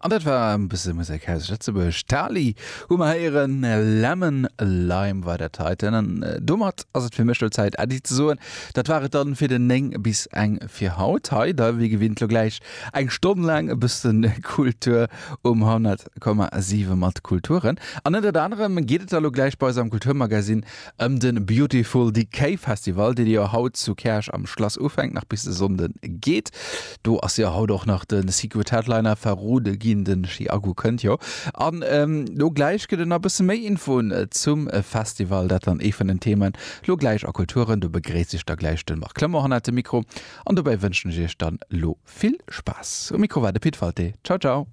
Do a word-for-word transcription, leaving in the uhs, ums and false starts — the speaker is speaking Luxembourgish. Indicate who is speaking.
Speaker 1: An dat war e bësse Musek aus Lëtzebuerg. Tali hu mer héieren, Lemon Lime war dat heiten. An domat ass et fir mech lo Zäit Äddi ze soen. Dat war et dann fir den néng bis eng fir haut. Hei da wéi gewinnt lo gläich eng Stonn laang e bëssen Kultur um honnert Komma siwe mat Kulturen. An ënnert anerem geet et da lo gläich bei eis am Kulturmagasinn ëm de Beautiful Decay Festival, dee jo haut zu Käerch am Schlass ufänkt, nach bis de Sonnde geet. Do ass jo haut och nach de Secret Headliner verrode ginn, den Chiago kënnt jo. An lo gläich gëtt et nach e bësse méi Infoen zum Festival, dat dann ee vun den Themen lo gläich a Kulturen. Do begréisst iech da gläich de Marc Clement hannert dem Mikro an dobäi wënschen ech iech dann lo vill Spaass. Um Mikro war de Pit Walté. Ciao ciao.